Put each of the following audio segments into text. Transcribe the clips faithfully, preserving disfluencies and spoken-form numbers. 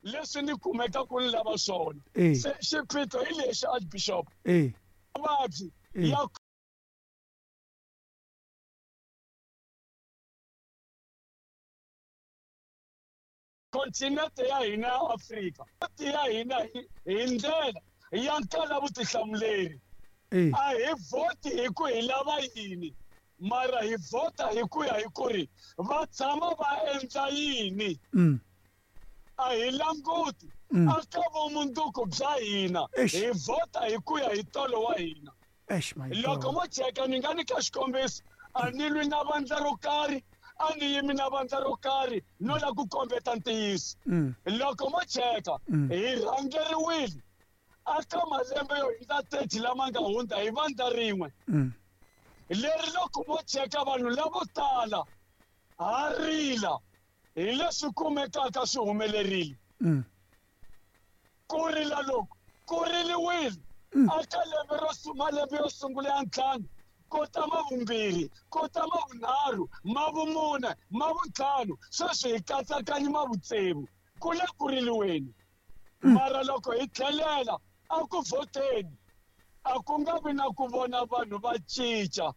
Leswi ni kumeka ku ni lava swona. Eh. Se xiphiqo hi lexi, Archbishop. Eh. Mavabyi Eh. ya kontinente ya hina ya Afrika ya hina hi hi ndlela ya nkala vutihlamuleri. Eh. A hi vhoti hi ku hi lava yini, mara hi vhota hi ku ya hi ku ri va tshama va endla yini. Mm. A hi languti Mm. aka vumundzuku bya hina. Eish. Hi vhota hi ku ya hi tolo wa hina. Eish, my Loko God. mo cheka ni nga nyika xikombiso, a ni lwi na vandla ro karhi, a ni yimi na vandla ro karhi no la ku kombeta ntiyiso. Mm. Loko mo cheka Mm. hi rhangeriwile aka malembe yo hundza thirty lama nga hundza hi vandla rin'we. Mm. Leri loko mo cheka vanhu lavo tala ha rila hi leswi kumekaka swi humelerile. Mm. Ku rila loku ku riliwile Mm. aka lembe ro su-, malembe yo sungula ya ntlhanu, ku ta ma vumbirhi, ku ta ma vunharhu, ma vumune, ma vuntlhanu, sweswi hi katsakanyi ma vutsevu, ku le ku riliweni. Mm. Mara loko hi tlhelela a ku vhoteni, a ku nga vi na ku vona vanhu va cinca,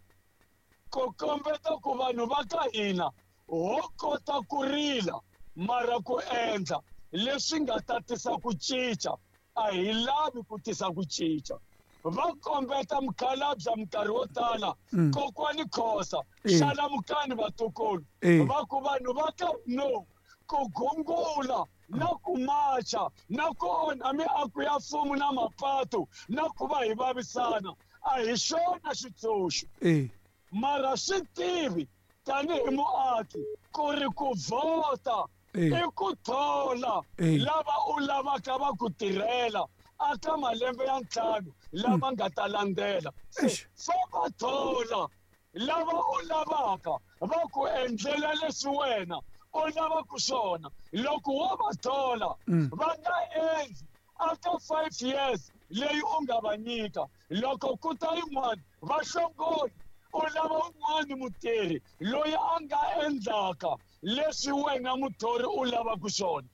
ku kombeta ku vanhu va ka hina ho kota ku rila, mara ku endla leswi nga ta tisa ku cinca a hi lavi ku tisa ku cinca. Va kombeta mukhalabye minkarhi wo tala, Mm. kokwani Khosa, Eh. xalamukani vatukulu. Eh. Va ku vanhu va ka no ku gungula na ku macha na ku onha miako ya mfumo na mapatu na ku va hi vavisana a hi xona xitshunxo. Eh. Mara swi tivi tanihi muaki ku ri ku vhota Eh. i ku thola Eh. lava u lavaka va ku tirhela aka malembe ya ntlhanu lama nga ta landzela. Se Eish. fa va thola lava u lavaka va ku endlela leswi wena u lavaka swona. Loko wo va thola Mm. va nga endli aka five years leyi u nga va nyika, loko ku ta yin'wana va hlongoli, u lava un'wana mutirhi loyi a nga endlaka leswi wena muthori u lavaka swona.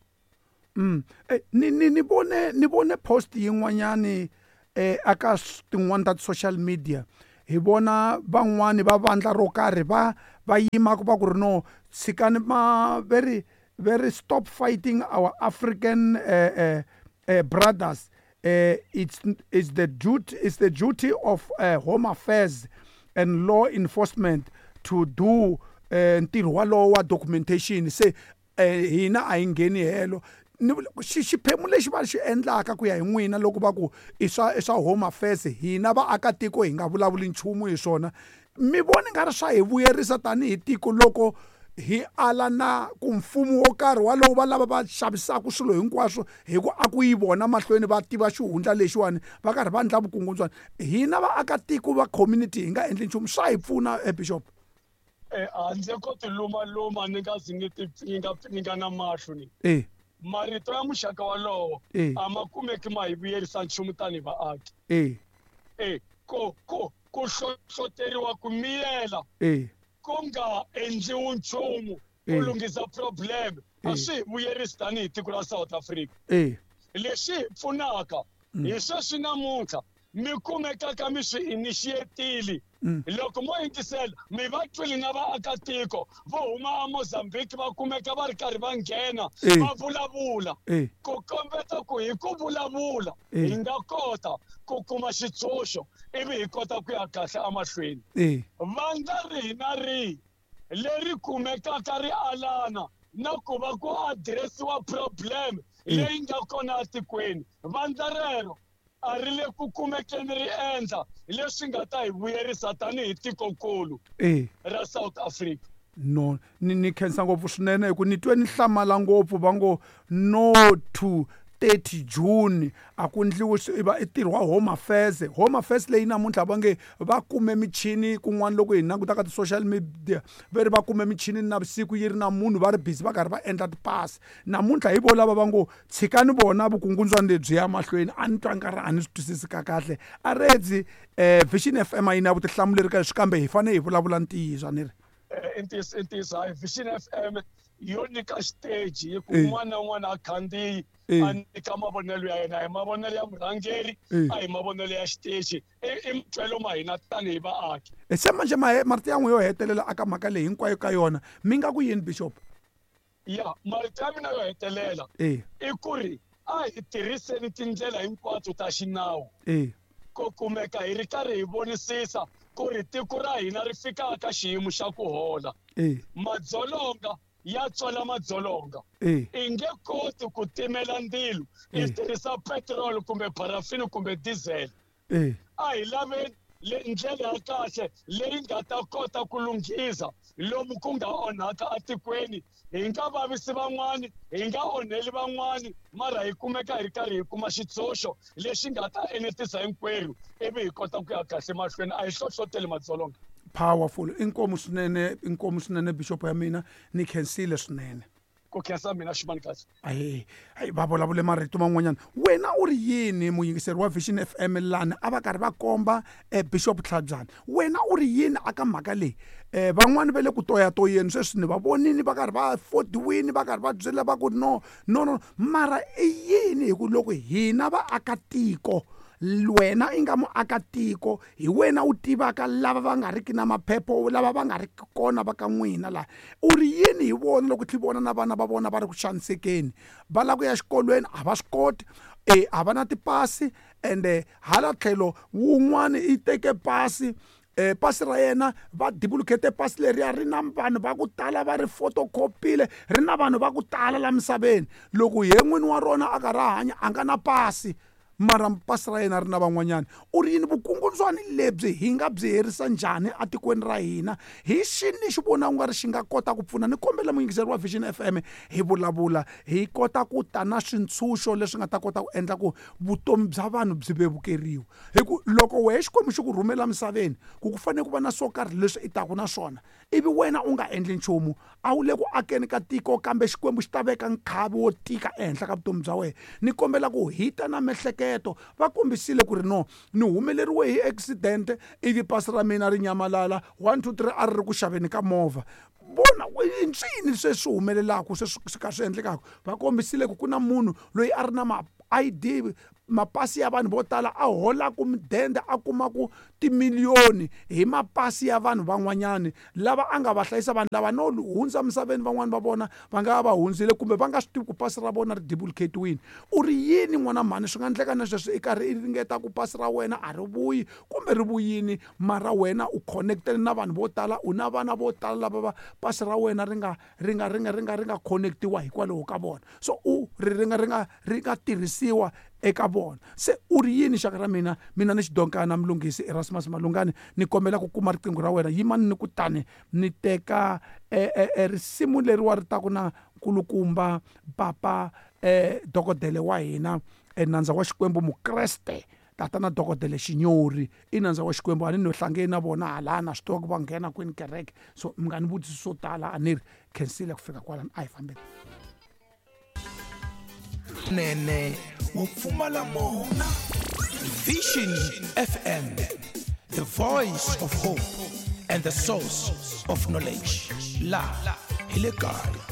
Mm. Eh, ni, ni, ni vone, ni vone post yin'wanyani, eh, aka s-, tin'wani ta social media. Hi vona van'wani va vandla ro karhi va, va yima ku va ku ri no, tshikani ma, very, very stop fighting our African, eh, eh, eh, brothers. Eh, it's, it's the duty, it's the duty of, eh, Home Affairs and law enforcement to do, eh, ntirho walowo wa documentation. Se, eh, hina a hi ngheni helo. Ni vula ku xi-, xiphemu lexi va xi endlaka ku ya hi n'wina loko va ku i swa, i swa Home Affairs, hina vaakatiko hi nga vulavuli nchumu hi swona. Mi vona nga ri swa hi vuyerisa tanihi tiko loko hi ala na ku mfumo wo karhi walowo va lava va xavisaka swilo hinkwaswo hi ku a ku yi vona mahlweni va tiva xihundla lexiwani va karhi va endla vukungundzwana. Hina vaakatiko va community hi nga endli nchumu, swa hi pfuna, eh, Bishop? Eh, handle ko ti lumaluma ni nga zi ni ti pfinga pfinga na mahlo ni. Eh. Marito ya muxaka walowo Eh. a ma kumeki ma hi vuyerisa nchumu tanihi vaaki. Eh. Eh, ku, ku, ku hlohloteriwa ku miyela Eh. ku nga endliwi nchumu ku Eh. lunghisa problem a Eh. swi hi vuyerisi tanihi tiko ra South Africa. Eh. Lexi hi pfunaka Mm. hi sweswi namuntlha mi kumekaka mi swi initiatile. Mm. Loko mo yingisela mi va twile na vaakatiko vo huma eMozambique va kumeka va ri karhi va nghena Eh. va vulavula. Eh. Ku kombeta ku hi ku vulavula Eh. hi nga kota ku kuma xitshunxo ivi hi kota ku ya kahle emahlweni. Eh. Vandla rihi na rihi leri kumekaka ri alana na ku va ku addressiwa problem Eh. leyi nga kona etikweni, vandla rero a ri le ku kumekeni ri endla leswi nga ta hi vuyerisa tanihi tikokulu Eh. ra South Africa. No, ni, ni khensa ngopfu swinene hi ku ni twe ni hlamala ngopfu va ngo no to thirty June a ku endliwi swi, i va i ntirho wa Home Affairs. Home Affairs leyi namuntlha va nge va kume michini kun'wana loko hi languta ka ti-social media va ri va kume michini navusiku yi ri na munhu va ri busy va karhi va endla tipasi. Namuntlha hi vo lava va ngo tshikani vona vukungundzwana lebyi ya mahlweni. A ni twa nkarhi a ni swi twisisi ka kahle. A redzi, eh, Vision F M a yi na vutihlamuleri ka leswi, kambe hi fanele hi vulavula ntiyiso, a ni ri? Eh, i ntiyiso, i ntiyiso. Hayi, Vision F M Yo nyika xiteji hi ku un'wana na un'wana a khandziyi a nyika mavonelo ya yena, hi mavonelo ya murhangeri, a hi mavonelo ya xiteji, i matwelo ma hina tanihi vaaki. Se manje marito ya n'we yo hetelela aka mhaka leyi hinkwayo ka yona mi nga ku yini, Bishop? Ya, marito ya mina yo hetelela i ku ri a hi tirhiseni tindlela hinkwato ta xinawu ku kumeka hi ri karhi hi vonisisa ku ri tiko ra hina ri fika ka xiyimo xa ku hola. Madzolonga ya tswala madzolonga, i nge koti ku timela ndzilo i tirhisa petrol kumbe parafini kumbe diesel. A hi laveni ndlela ya kahle leyi nga ta kota ku lunghisa lomu ku nga onhaka etikweni, hi nga vavisi van'wani, hi nga onheli van'wani, mara hi kumeka hi ri karhi hi kuma xitshunxo lexi nga ta enetisa hinkwerhu ivi hi kota ku ya kahle mahlweni. A hi hlohloteli madzolonga. Powerful. Inkomu swinene, inkomu swinene Bishop ya mina, ni khensile swinene. Ku khensa mina ximani kahle. Ayi, ayi va vulavule marito man'wanyana. Wena u ri yini muyingiseri wa Vision F M lani a va karhi va komba eh, Bishop Tlhabyana? Wena u ri yini aka mhaka leyi? Eh, van'wani va le ku toyatoyeni sweswi ni va vonini va karhi va fodiwini, va karhi va byela va ku no, no, no. Mara i yini hi ku loko hina vaakatiko, wena i nga muakatiko, hi wena u tivaka lava va nga riki na maphepho, lava va nga riki kona va ka n'wina laha, u ri yini hi vona loko tlhi vona na vana va vona va ri ku xanisekeni, va lava ku ya xikolweni a va swi koti, e a va na tipasi, ende hala tlhelo wun'wani i teke pasi, eh pasi ra yena va duplicate pasi leriya ri na vanhu va ku tala va ri photocopyile, ri na vanhu va ku tala la misaveni, loko ye n'wini wa rona a karhi a hanya a nga na pasi, mara pasi ra yena ri na van'wanyana. U ri yini vukungundzwani lebyi hi nga byi herisa njhani etikweni ra hina? Hi xini xi vona u nga ri xi nga kota ku pfuna? Ni kombela muyingiseri wa Vision F M hi vulavula, hi kota ku ta na swintshunxo leswi nga ta kota ku endla ku vutomi bya vanhu byi vevukeriwa. Hi ku loko wehe Xikwembu xi ku rhumela misaveni ku ku fanele ku va na swo karhi leswi i taku na swona, ivi wena u nga endli nchumu, a wu le ku akeni ka tiko, kambe Xikwembu xi ta veka nkhavi wo tika ehenhla ka vutomi bya wena. Ni kombela ku hi ta na miehleketo. Va kombisile ku ri no, ni humeleriwe hi accident ivi pasi ra mina ri nyamalala, one two three a ri ri ku xaveni ka movha. Vona i ncini sweswi humelelaka, sweswi swi ka swi endlekaka. Va kombisile ku ku na munhu loyi a ri na ma I D, mapasi ya vanhu vo tala, a holaku mudende a kumaku timiliyoni hi mapasi ya vanhu van'wanyani lava a nga va hlayisa. Vanhu lava no hundza misaveni, van'wani va vona va nga va hundzile kumbe va nga swi tivi ku pasi ra vona ri duplicate-wini. U ri yini n'wana mhani? Swi nga endleka na sweswi i karhi i ringeta ku pasi ra wena a ri vuyi kumbe ri vuyini, mara wena u connectele na vanhu vo tala, u na vana vo tala lava va pasi ra wena ri nga ri nga ri nga ri nga ri nga connectiwa hikwalaho ka vona, so u ri ri nga ri nga ri nga tirhisiwa eka vona. Se u ri yini xaka ra mina? Mina ni xidonkana Mlungisi Erasmus Malungani, ni kombela ku kuma riqingho ra wena. Yimani ni kutani ni teka e risimu leriwa ri taku na nkulukumba papa eh dokodele wa hina, nandza wa Xikwembu Mukreste, tatana dokodele Xinyori i nandza wa Xikwembu. A ni no hlangeni na vona hala na swi tiva ku va nghena kwini kereke, so mi nga ni vutisi swo tala, a ni ri khensile ku fika kwalano, a hi fambeni. Nene wo pfumala mona. Vision F M, the voice of hope and the source of knowledge. La hi le kaya.